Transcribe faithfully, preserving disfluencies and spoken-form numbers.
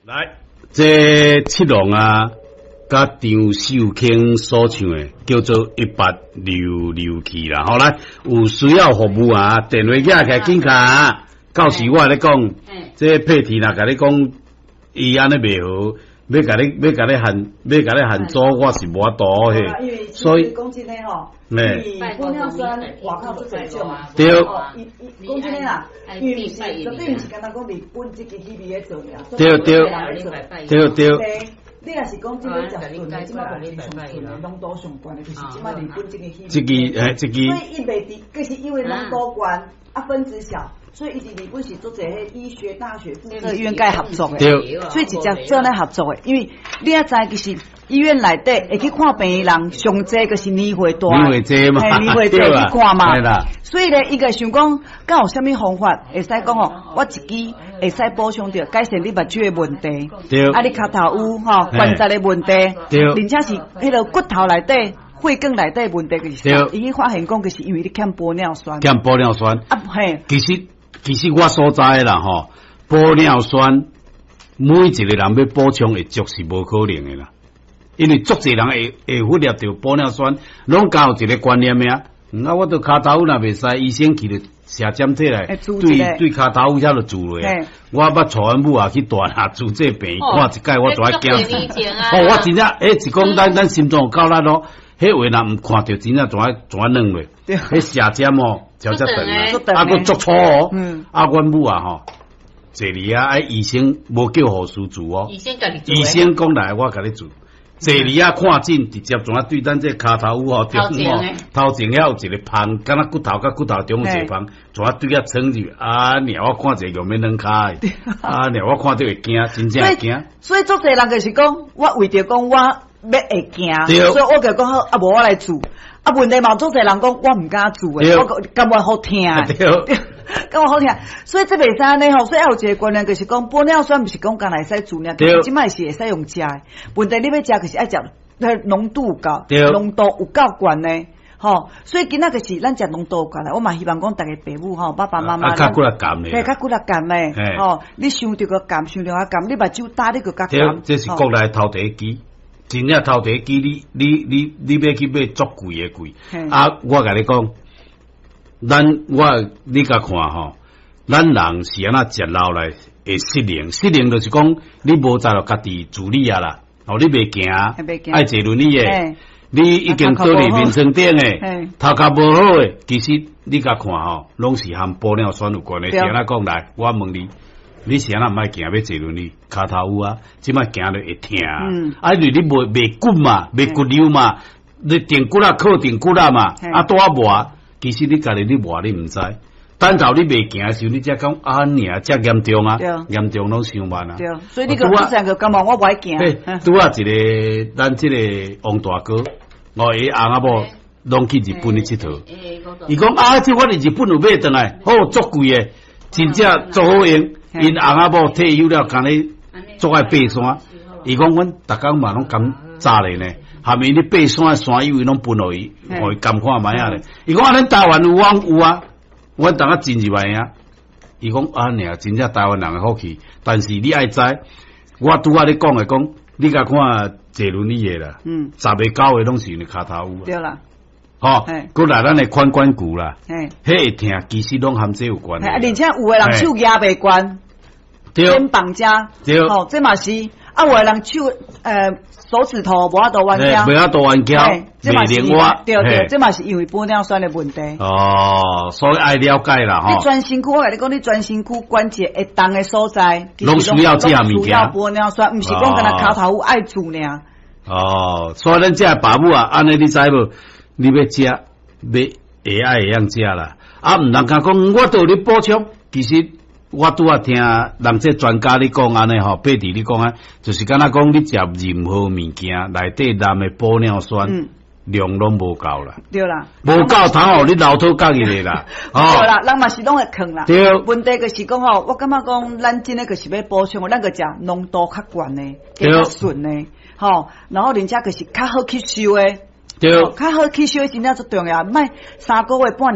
來，這七龍啊，佮張秀卿所唱的叫做《一八溜溜去》啦。好來，有需要服務啊，電話寄來緊敲。到時我咧講，這佩蒂若共你講，伊按呢袂好，欲共你欲共你限，欲共你限阻，我是無法度嘿。所以講真的吼，因為玻尿酸外口足濟種啊。對。伊伊講真的啦，伊毋是絕對毋是干焦講日本這支氣味咧做爾。對對對對。你若是講這個食純的，這擺目前上純的濃度上懸的，就是這擺日本這个氣味。這支欸，這支。所以伊袂佇，就是因為濃度懸，啊分子小，所以伊佇日本是足濟彼醫學大學附設醫院佮合作的，所以直接做咧合作的，因為你也知其實醫院內底會去看病的人，上濟就是年歲大，年歲濟嘛，年歲濟去看嘛，所以咧，伊個想講，敢有啥物方法會使講哦，我一支會使補充著改善你目睭的問題，啊，你跤頭趺吼關節的問題，而且是彼个骨頭內底。血管內底問題就是，伊去發現講，就是因為你欠玻尿酸，欠玻尿酸啊，嘿，其實其實我所知的啦吼，玻尿酸每一個人欲補充會足是無可能的啦，因為足濟人會會忽略著玻尿酸，攏交有一個觀念啊，啊，我著跤頭若袂使，醫生去就寫針體來，對對跤頭遐就注落。我捌帶阮母啊去大廈注這病院看一擺，我就愛驚死。哦，我真正，欸，是講咱咱心臟有夠力咯。彼話若毋看著，真正怎啊怎啊軟落？彼寫針哦，超遮長啊，啊閣足粗哦。啊，阮母啊吼，坐佇遐，啊醫生無叫護士注哦。醫生家己醫生講來，我共你注。坐佇遐看診，直接怎啊對咱這跤頭趺吼中吼，頭前遐有一个縫，敢若骨頭佮骨頭中有一個縫，怎啊對遐穿入？啊，爾我看者用欲軟跤的，啊，爾我看著會驚，真正會驚。所以足濟人就是講，我為著講我欲會驚，所以我就講好，啊無我來注。啊問題嘛，足濟人講我毋敢注的，我感覺好疼。感覺好疼，所以這袂使按呢吼，所以猶有一個觀念就是講，玻尿酸毋是講干焦會使注爾，其實這擺是會使用食的。問題你欲食就是愛食，濃度有夠，濃度有夠懸的，吼。所以今仔就是咱食濃度有懸的，我嘛希望講逐个爸母吼，爸爸媽媽，較骨力鹹的，對，較骨力鹹的，吼。你傷著個鹹，傷著較鹹，你目睭焦你閣較鹹。這是國內頭第一支。真正頭第一支，你你你你欲去買足貴的貴。啊，我共你講，咱我你共看吼，咱人是按怎食落來會失靈？失靈就是講你無在著家己自理啊啦，哦，你袂行，愛坐輪椅的，你已經倒佇眠床頂的，頭殼無好的，其實你共看吼，攏是和玻尿酸有關的。是按怎講來？我問你。你是按怎毋愛行欲坐輪椅？跤頭趺啊，這擺行著會疼啊！因為你袂袂骨嘛，袂骨溜嘛，你定骨啊靠定骨啊嘛，啊拄仔磨，其實你家己你磨你毋知，等到你袂行的時候，你才講啊爾遮嚴重啊，嚴重攏傷慢啊。對，所以你個之前就感覺我無愛行。拄仔一個咱這個王大哥，我伊翁仔某攏去日本咧𨑨迌，伊講啊，這我佇日本有買轉來，好足貴的，真正足好用。𪜶翁仔某退休了，敢若足愛爬山。伊講阮逐工嘛攏檢查咧呢，下面咧爬山的山友伊攏分予伊，予伊監看覓仔咧。伊講啊，咱台灣有往有啊，阮當下真入來啊。伊講啊，爾真正台灣人的福氣，但是你愛知，我拄仔咧講的講，你共看坐輪椅的啦，嗯，十个九个攏是因為跤頭趺。對啦。吼，閣來咱的髖關節啦，彼會疼，其實攏和這有關。啊，而且有的人手舉袂懸，肩膀遮，吼，這嘛是啊，有的人手呃手指頭無法度彎曲，無法度彎曲，這嘛是對對，這嘛是因為玻尿酸的問題。哦，所以愛了解啦，吼。你全身軀，我共你講，你全身軀關節會動的所在，攏需要這物件。需要玻尿酸，毋是講干焦跤頭趺愛注爾。哦，所以咱這爸母啊，按呢你知無？你欲食，欲會愛會曉食啦。啊，毋通講，我都有咧補充。其實我拄仔聽人這專家咧講按呢吼，伯弟你講啊，就是敢若講你食任何物件內底含的玻尿酸量攏無夠啦。對啦，無夠通予你流吐角入來啦。對啦，人嘛是攏會囥啦。對。問題就是講吼，我感覺講，咱真的就是欲補充，咱閣食濃度較懸的，較順的，吼，然後而且就是較好吸收的。對，較好吸收真正足重要，莫三個月半年。